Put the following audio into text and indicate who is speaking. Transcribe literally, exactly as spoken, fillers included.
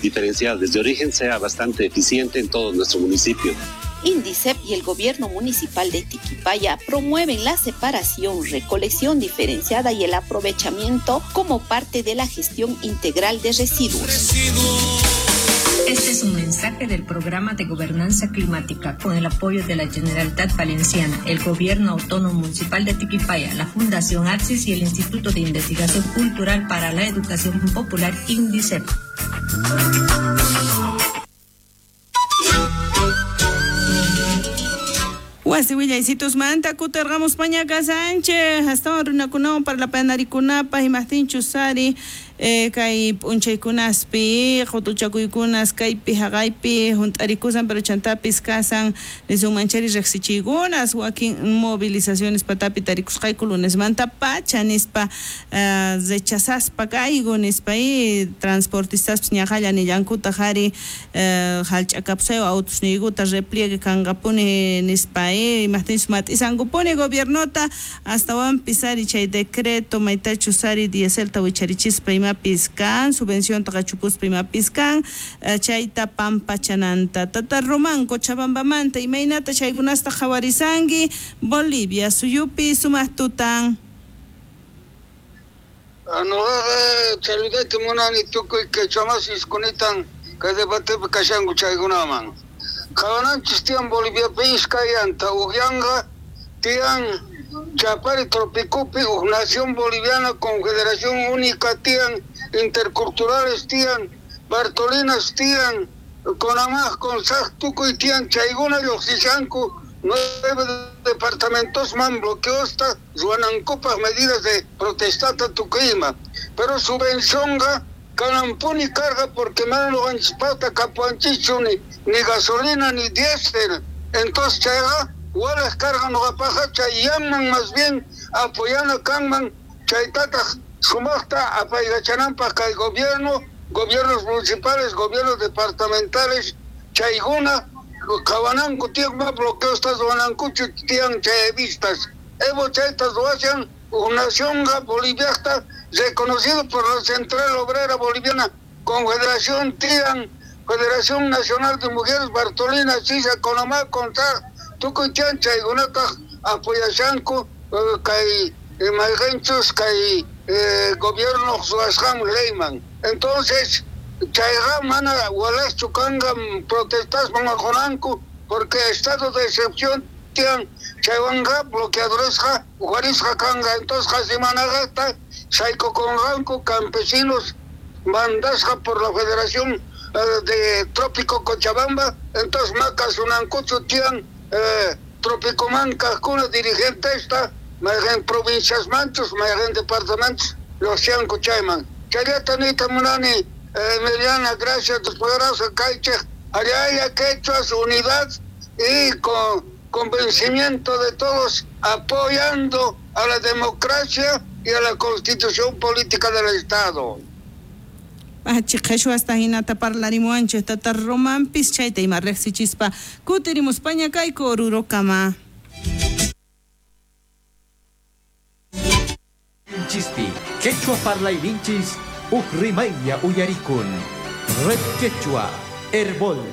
Speaker 1: Diferenciada desde origen sea bastante eficiente en todo nuestro municipio.
Speaker 2: INDICEP y el gobierno municipal de Tiquipaya promueven la separación, recolección diferenciada y el aprovechamiento como parte de la gestión integral de residuos.
Speaker 3: Este es un mensaje del Programa de Gobernanza Climática con el apoyo de la Generalitat Valenciana, el Gobierno Autónomo Municipal de Tiquipaya, la Fundación Axis y el Instituto de Investigación Cultural para la Educación Popular INDICEP.
Speaker 4: Wasi willaysitusmanta kutirqamus pañaqa Sánchez astawan runakunawan parlapanarikunapaq imaqtinchus sari eh, kay p'unchaykunaspi qutuchakuykunas kaypi haqaypi hunt'arikusan pero chantapis kasan nisunmanchari riqsichiykunas wakin movilizaciones patapi tarikusqayku lunesmanta pacha nispa uh, rechazaspa kayku nispa y transportistaspis ñaqalla nillankutaq ari uh, hallch'akapusaywan autusniykuta repliegue kanqapuni nispa imaqtinchus mat'isankupuni gobiernota astawanpis ari chay decreto maytachus ari dieselta wicharichispa imapis kan subvencionta qachupuspa imapis kan chayta pampachananta. Tata Román Cochabambamanta imaynata chaykunasta qhawarisanki Bolivia suyupi sumaq tutan.
Speaker 5: Nuqaqa saludayta munani tukuy quechuamasis kunitan kay debatepi kashanku chaykunaman. Qhawananchis tiyan Boliviapi iskayanta uqyanqa tiyan Chapari Tropicupi uq nación boliviana confederación única tiyan interculturales tiyan Bartolinas tiyan Conamaj Consaj tukuy tiyan chaykuna lluqsishanku nueve departamentos man bloqueosta ruwanankupaq medidas de protestata tukuyma pero subvencionqa kanampuni carga porque mana nuqanchispaqta kapuwanchischu ni, ni gasolina ni diésel. Entonces chayqa walaj carga nuqapaqqa chayyanman más bien apoyana kanman chaytataq sumaqta apaykachananpaq kay gobierno, gobiernos municipales, gobiernos departamentales chaykuna qhawananku tiyan ma bloqueosta ruwanankuchu tiyan chayvistas. Evo chayta ruwashan uq nacionqa Boliviaqta reconocido por la Central Obrera Boliviana, Confederación Tian, Federación Nacional de Mujeres, Bartolina, Sisa, Conamá, Consaj, tukuy tiyan chaykunataq apoyashanku kay mayqinchus kay gobierno ruwasqan leyman. Entonces, chayqa mana walajchu kanqa protestasman aqunanku porque estado de excepción tiyan chaywanqa bloqueadoresqa uqharisqa kanqa. Entonces qasimanaqta saykukunqanku campesinos mandasqa por la Federación eh, de Trópico Cochabamba. Entonces makasunankuchu tiyan eh, Trópicoman kaqkuna dirigentesta mayqin provincias manchus mayqin departamentos lluqsiyanku chayman. Chayllata niyta munani eh, Emiliana, gracias después kaychej allalla quechuas unidad y con convencimiento de todos apoyando a la democracia y a la constitución política del Estado.
Speaker 4: Achi qheshwasta hinata parlarimuwanchik tata Romanpis chayta ima riqsichispa kutirimuspaña kayku Orurokama.
Speaker 6: Chispi, quechua parlayninchis uq rimaylla uyarikun. Red Quechua, Herbol.